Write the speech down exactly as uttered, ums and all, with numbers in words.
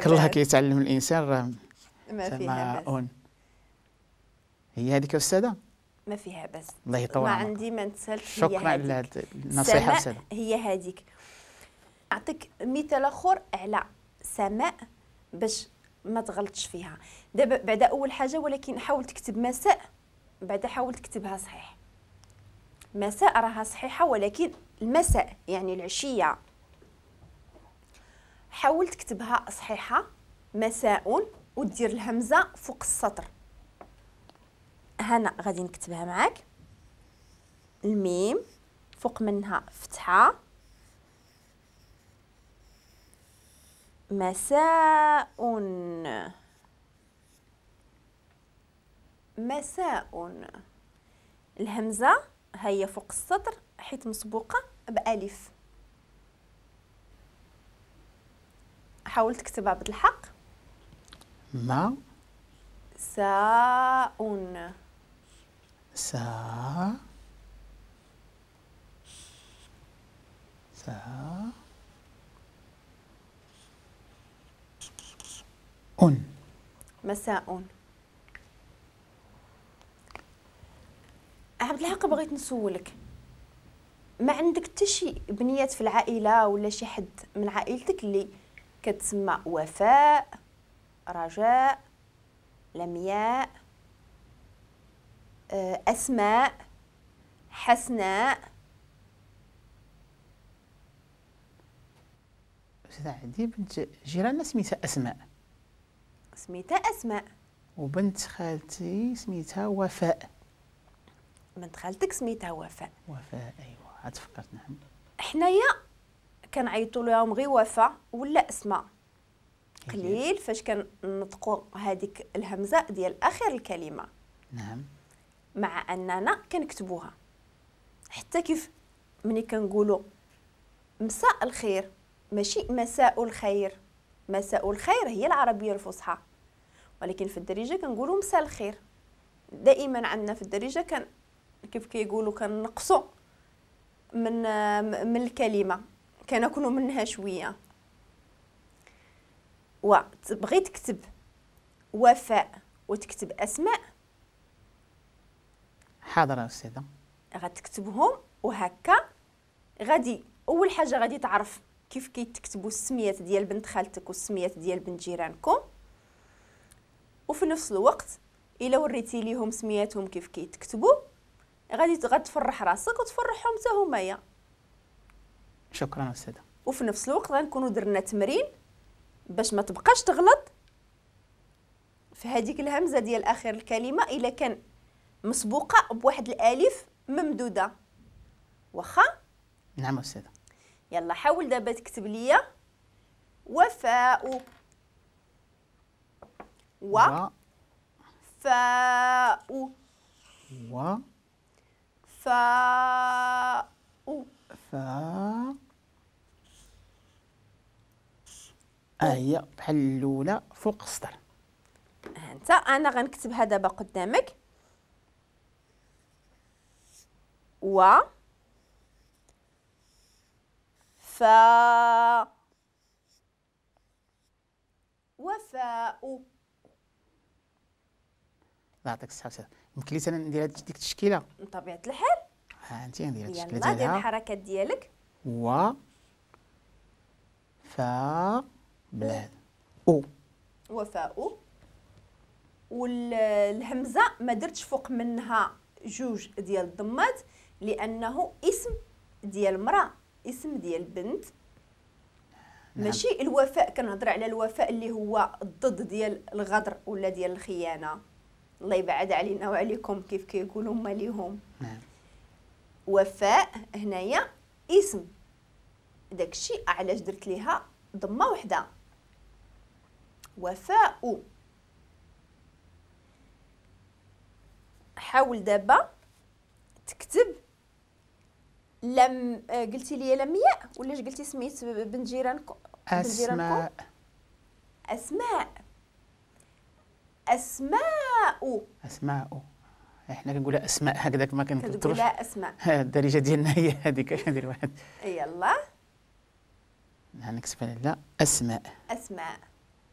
تبارك الله كيتعلم الانسان راه ما فيها باس. هي هذيك استاذه ما فيها باس. الله يطول ما عندي ما نتسالش. شكرا على هذه النصيحة استاذه. هي هذيك. نعطيك مثال اخر على سماء باش ما تغلطش فيها. دابا بعدا اول حاجة، ولكن حاول تكتب مساء، بعدا حاول تكتبها صحيح. مساء راها صحيحه، ولكن المساء يعني العشية حاول تكتبها صحيحه مساء، ودير الهمزة فوق السطر. هنا غادي نكتبها معاك، الميم فوق منها فتحه، مساء مساء. الهمزة هي فوق السطر حيت مسبوقة بألف. حاول تكتبها بالحق. ما ساء سا سا أن مساء. عبد الحق بغيت نسولك، ما عندك حتى شي بنيات في العائلة ولا شي حد من عائلتك اللي كتسمى وفاء، رجاء، لمياء، اسماء، حسناء؟ أستاذ عندي بنت جيراننا سميتها اسماء. سميتها اسماء. وبنت خالتي سميتها وفاء. بنت خالتك سميتها وفاء. وفاء ايوا عاد فكرت. نعم. حنايا كنعيطوا لهم غير وفاء ولا اسماء. قليل فاش كنطقوا هذيك الهمزة ديال اخر الكلمة. نعم. مع اننا كنكتبوها. حتى كيف ملي كنقولوا مساء الخير ماشي مساء الخير. مساء الخير هي العربية الفصحى، ولكن في الدارجة كنقولوا مساء الخير. دائما عندنا في الدارجة كان كيف كيقولوا كنقصوا من من الكلمة، كناكلوا منها شوية. وتبغي تكتب وفاء وتكتب اسماء. حاضر استاذه. غتكتبهم وهكا غادي اول حاجة غادي تعرف كيف كيتكتبوا السميات ديال بنت خالتك والسميات ديال بنت جيرانكم، وفي نفس الوقت الا وريتي ليهم سمياتهم كيف كيتكتبوا غادي غتفرح راسك وتفرحهم حتى همايا. شكرا استاذه. وفي نفس الوقت غنكونوا درنا تمرين باش ما تبقاش تغلط في هذيك الهمزة ديال اخر الكلمة الا كان مسبوقة بواحد الالف ممدوده. واخا؟ نعم استاذه. يلا حاول دابا تكتب ليا وفاء و فاء و فاء فاء. هي بحال الاولى فوق السطر. انت انا غنكتبها دابا قدامك. و فا وفاء. الله يعطيك الصحة أستاذ. يمكن لي أنا ندير ديك التشكيلة؟ بطبيعة الحال. ها أنت ندير التشكيلة ديالها. يلا دير الحركات ديالك. و فا بلاد أو وفاء. والهمزة ما درتش فوق منها جوج ديال الضمات لأنه اسم ديال امرأة، اسم ديال بنت. نعم. ماشي الوفاء، كنهضر على الوفاء اللي هو الضد ديال الغدر ولا ديال الخيانة. الله يبعد علينا وعليكم كيف كيقولوا هما ليهم. نعم. وفاء هنايا اسم، داكشي علاش درت ليها ضمه وحده. وفاء. حاول دابا تكتب لم قلتي لي لمياء ولا اش قلتي سميت بنت جيرانكم؟ اسماء. اسماء. اسماء. اسماء. احنا كنقولها اسماء هكذاك ما كنكتبوش. كتقولها اسماء. الدارجة ديالنا هي هذيك. ندير واحد. يلا نكتبها لا اسماء. اسماء.